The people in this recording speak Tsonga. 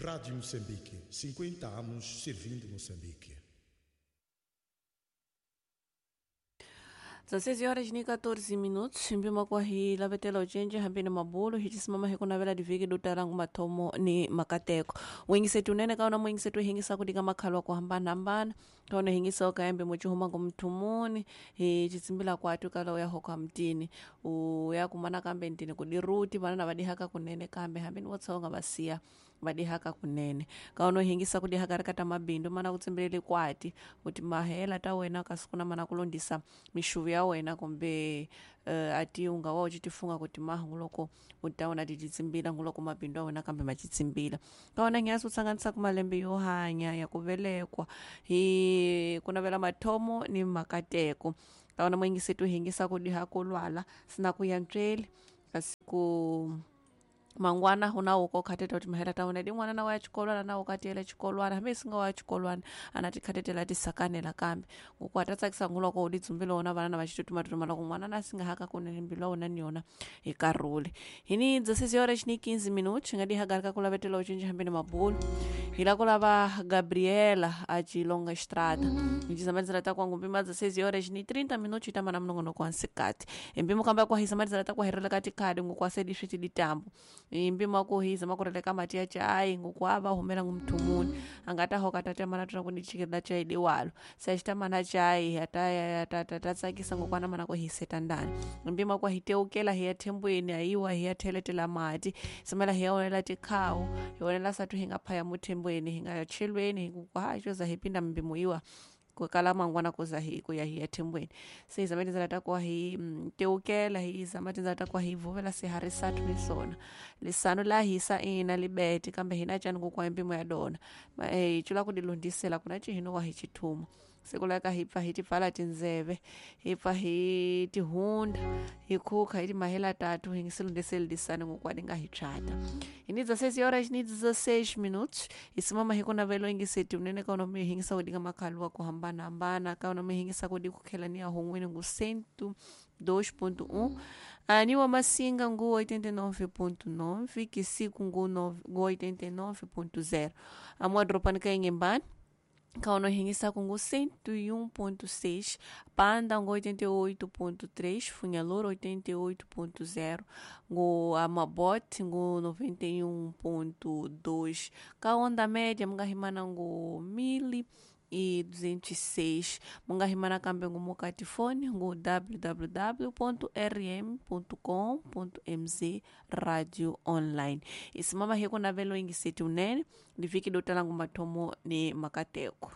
Rádio Moçambique, 50 anos servindo Moçambique. 16 horas ni 14 minutos mpima kwa hi lavetela ucenje hambini mabulu hicisimama hikunavela diviki dutalangu mathomo ni makateko wingisetu unene kaona mwingisetu hingisa kudika makhalu akuhambanahambana kaona hingisa okaembe mucihuma kumthumuni hicitsimbila kwatu kala uyahoka mtini uyakumana kambe ntini kudiruti vanana vadihaka kunene kambe hambini wotsonga vasiya vadihaka kunene kaona uhingisa kudihaka rikata mabindu mana kutsimbileli kwati kuti mahela ta wena kasikuna mana kulondisa mixuvu ya wena kumbe ati ungawa ucitifunga kuti mahu loko utaona ticitsimbila nguloko mabindu a wena kambe macitsimbila kaona ngiasi utsanganisa kumalembe yo hanya ya kuvelekwa hi kunavela mathomo ni makateko kaona mwingisetu hingisa kudiha kulwala sina kuyantsweli kasi ku mangwana huna uko khateta kuti mahela taona di n'wana na wa ya xikolwana na ukatiyela xikolwana hambi singa wa ya xikolwana ana tikhatetela tisakanela kambe ngoku ata tsakisa nguloko u didzumbile wona vana na va xitutumatutuma loko n'wana na singa haka kunene mbilu ya wona ni yona hi karhule hi ni 16 horas ni 15 minutos hi nga dihagari ka ku lavetela u cinca hambi ni mabulu hi la ku lava Gabriela a Chilonga Estrada hi ta kwangu mpima 16 horas ni 30 minutos hi tamba na minongonoko wa nsikati hi mpimo kamba ku hisa matidzela ta ku herela ka tikhadi ngoku asedi swi tiditambu hi mpimo wa ku hisa makurele ka mati ya chai ngoku a va humela ngumthumuni a nga ta hoka ta temana tuna ku ni chikela chai diwalo se xi tamana chai ta tsakisa ngoku ana mana ku hiseta ndani hi mpimo wa ku hi teukela hi ya thembweni hayiwa hi ya theletela mati simela hi ya onela tikhawu hi onela satu hi nga phaya muthembweni hi nga chelweni hi ku ha xoza hi pinda mpimo iwa kukala mangwana kuza hi ku ya hi ya thembweni se hi zama tindzela ta kuwa hi teukela hi zama tindzela ta kuwa hi vuvela sihari sathu lesona lisano la hisa ina libete kambe hina cani kukuwa empimo ya dona hi cula ku dilondisela kuna cihino wa hi chithuma siku laka hi pfa hi tipfala tindzeve hi pfa hi tihunda hi khukha hi timahela tatu hi ngisilondiseli lisani ngokuwa di nga hi tshata hi ni 16 horas ni 16 minutos hi simama hi kunavelo ingiseti unene kaona mi hingisa kudinga makhalu wa kuhambanahambana kaona mi hingisa kudi kukhela ni ya hon'wini ngu 102.1 ani wa Massinga ngu 89.9 Kisiku ngu 89.0 amwa dropani ka Inhambane kaona hingisa kungu 101.6 Panda ngo 88.3 Funhalor 88.0 ngo Amabot ngo 91.2 Kaonda média mungahimana ngo 1206 mungahimana kambe ngo mokatifone ngo www.rm.com.mz radio online isimama hiku navelo ingiseti unene liviki dotala ngo mathomo ni makateko.